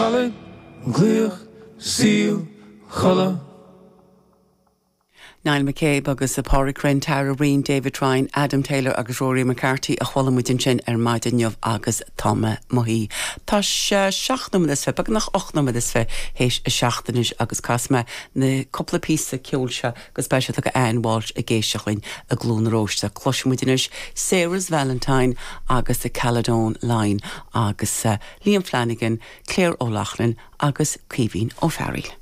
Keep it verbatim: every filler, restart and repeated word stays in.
Caladh, glaoch, saol, codladh. Niall McCabe agus a Pádraig Rynne, Tara Breen, David Ryan, Adam Taylor agus Rory McCarthy a chuala muid ansin ar maidin inniu agus Tá mé mo shuí. Tá sé seacht nóiméad is fiche beagnach ocht nóiméad is fiche théis a seacht anois agus casfaidh mé na cúpla píosa ceoil seo agus beidh siad ag Anne Walsh ag éisteacht linn i gCluain na Róiste. Cloisfidh muid anois Sarah's Valentine agus the Caledon Line agus uh, Liam Flanagan, Claire O'Loughlin agus Caoimhín Ó Fearghail.